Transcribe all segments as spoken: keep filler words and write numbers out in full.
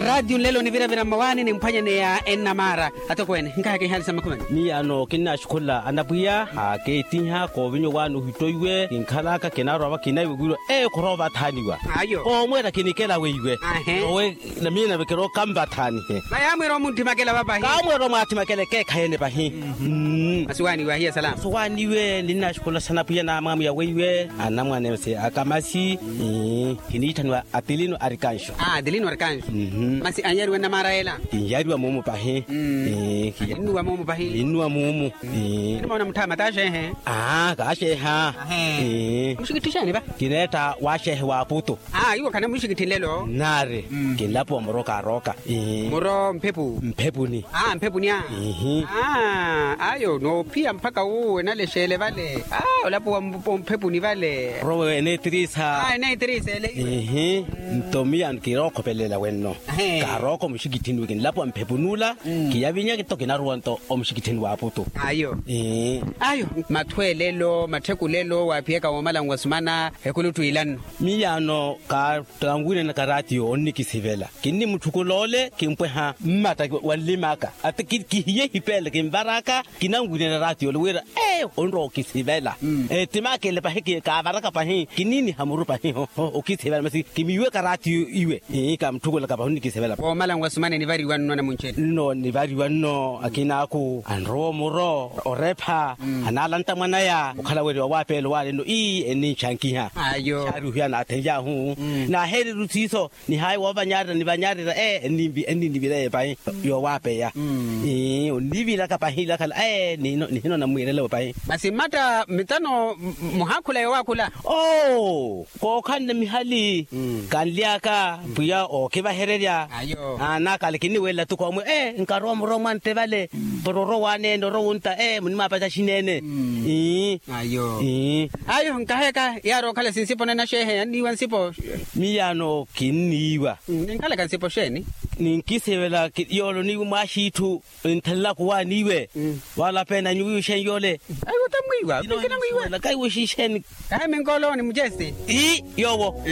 Raatiyo nlelo niviravira mmawaani nimphwanyaneya ennamaara. Atokweene nkahaka ihaali sa makhumani. Miyaano kinnaxukhula anapwiya akeettiha koovinya owaani ohittoiwe kinkhalaka kinarwa vakinaiwe wirwa. Ee khuroovathaaniwa. Ayo. Koomweera kinikela weiwe. Ahe. Owe na miina vekeroka mvathaanihe. Vayaamweera omunthimakela vapahi. Kaamweera omwaathimakela ekeekhayi ene pahi. Masi waaniwe ahiya salama. Masi waaniwe ninnaxukhula sanapwiya namwaamwiya weiwe anamwane masi akamasi. Kiniitthaniwa atilino arikanxo. Atilino arikanxo. Masi anyariwa nnamaara ela. Kinyariwa muumu pahi. Innuwa muumu pahi. Innuwa muumu. Aa kaaxeeha. Muxikitthi xeeni va? Kineetta waaxeehe wa aputo. Aa iwo khana muxikitthi nlelo. Nnaari. Kinlapuwa muro kaarooka. Muro mphepu. Mphepuni. Aa mphepuni a. Aa ayo noophiya mpakha wuwo enalexeele vale. Aa olapuwa mphepuni vale. Rowe eneetiriisa. Aa eneetiriisa ele. Nto miyaano kirookhopelelela wenno. Kaarooko muxikitthini wi kinlapuwa mphepuni ula. Kiyavinyeke nto kinaruwa nto omuxikitthini wa aputu. Ayo. Ayo. Mathweelelo matthekulelo waaphiyaka woomala nwasumana. Ekuluttwiilanno. Miyaano kanwiinanaka raatiyo onnikisivela. Kinnimutthukuloole kimpweha mmatta wa nlimaka ati kihiye hipeele kinvaraka. Kinanwirela raatiyo ole wira ee onrowa okisivela. Ettimaakele pahi kaavaraka pahi kinniiniha muru pahi. Okisivela masi kimiiweka raatiyo iwe. Kamutthukulaka pahi onnikisivela. Woomala nwasumana enivariwa nno anamuncheni. Nno nivariwa nno akinaaku anrowa omuro orepha. Anaalanta mwanaya okhala weri wawaapeela owaale nno ii enninxankiha. Ayo. Xaari ohiya naathenly'ahu. Naaheereru siiso. Nihaayi woovanyarira nivanyarira ee enninivira eyo pahi. Yoowaapeya. Onnivilaka pahi ilakhala ee nihino nammwiirela eyo pahi. Masi mmatta mitano muhaakhula yoowaakhula. Oo kookhanne mihali. Kanly'aka pwiya ookivahererya. Ayo. Naakale kinniwelela tuku omwe ee nkarowa muro mwantte vale. Pororo waaneene orowa ontta ee munimwaapaca axineene. Ayo. Ayo nkaheka yaari okhala sinsipo nena xeehe yanniiwa nsipo. Miyaano kinniiwa. Ninkhalaka nsipo xeeni? Ninkisivela yoolo niiwe mwaaxiitthu. Nthalelaka owaani iwe. Wala peena nyuwiwe xeeni yoole. Aiwe otamwiiwa. Kaiwe xixeeni. Kahi minkoolo ni mucesti. Ii yoowo.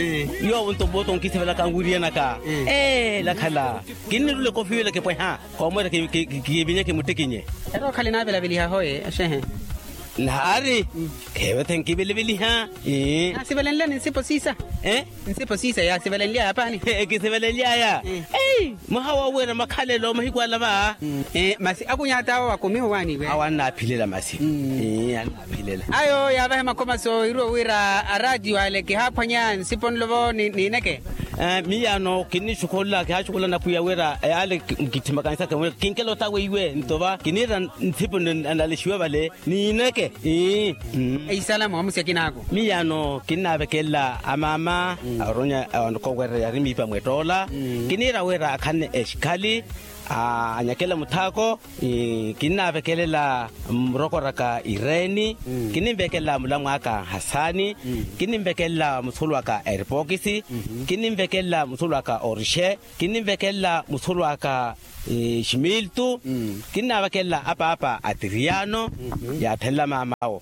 Yoowo nto mmoota onkisivelaka nwiriyanaka. Ee lakhala. Kinnirula ekofiwela kipweha. Koomweera kivinyeke muttikinye. Ero okhale naavelaveliha hoye axehe. Naari. Kheevethe nkivelaveliha. Naasivelenlyani nsipo siisa. Nsipo siisa yaasivelenlyaya paani. Ekisivelenlyaya. Mwaha woowiira makhalelo mahiku ala va. Masi akunyata awo wakumiha owaaniwe awo annaaphilela masi. Annaaphilela. Ayo yaavahe makhomaso iruwo wira araatiyo ale kihaaphwanya nsipo nlovo niineke. Miyaano kinnixukhula kihaaxukhula napwiya wira yaale. Kitthimakanisaka wira kinkela otaweiwe nto va kiniira nsipo analexiwe vale. Niineke. Ii. Eisala moomusi akinaaku. Miyaano kinnaavekelela amaama aronya anokowerya yari miipa mwettoola. Kiniira wira akhanne exikhali anyakela muthaako. Kinnaavekelela murokoraka ireeni. Kinnimvekelela mulamwaaka hasaani. Kinnimvekelela musulu aka eripokisi. Kinnimvekelela musulu aka orixe. Kinnimvekelela musulu aka ximiltu. Kinnaavakelela apaapa a tiriyaano yaathenla maam'awo.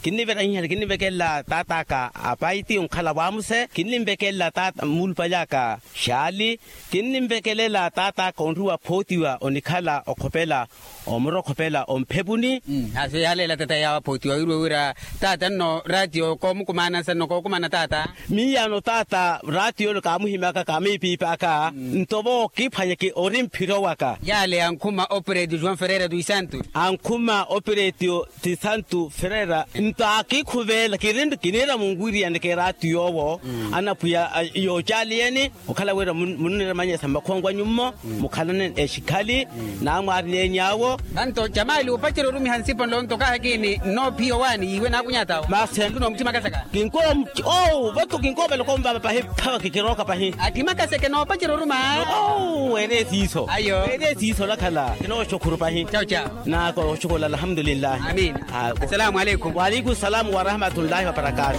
Kinniverahiha kinnimvekelela taat'aka apaiti onkhala waamuse kinnimvekelela taata muulupaly'aka xaali. Kinnimvekelela taat'aka onriwa phootiwa onikhala okhopela omuro okhopela omphepuni. Haaso yaaleela taata yaawa phootiwa wiiriwe wira taata nno raatiyo koomukumaanansa nno kookumana taata. Miyaano taata raatiyo ole kaamuhimyaka kaamiipiip'aka nto vo kiphwanyeke ori mphiro waka. Yaale ankhuma operetio joão ferreira dos santos. Ankhuma operetio ti santo ferreira nto akiikhuveela kiniira munwiriyaneke raatiyo owo. Anapwiya yoocaliyeni okhala wira munniremanyesa mmakhongo anyu mmo. Mukhalaneni exikhali naamwaarini eny'awo. Vanto jamali opacerya orumiha nsipo nlo nto kaahakini nnoophiya owaani yiiwe naakunyata awo masi. Nto noomuthimakasaka kinkowa oo vato kinkoopela okomvava pahi. Phavaki kirooka pahi. Athimakaseke noopacerya oruma. Oo weere siiso. Ayo weere siiso olakhala kinooxukhuru pahi. Cawu cawu. Naaka oxukhula alhamdulillahi. Amina. Assalamu aleikum. Waaleikum salamu warahmatullahi wabarakatu.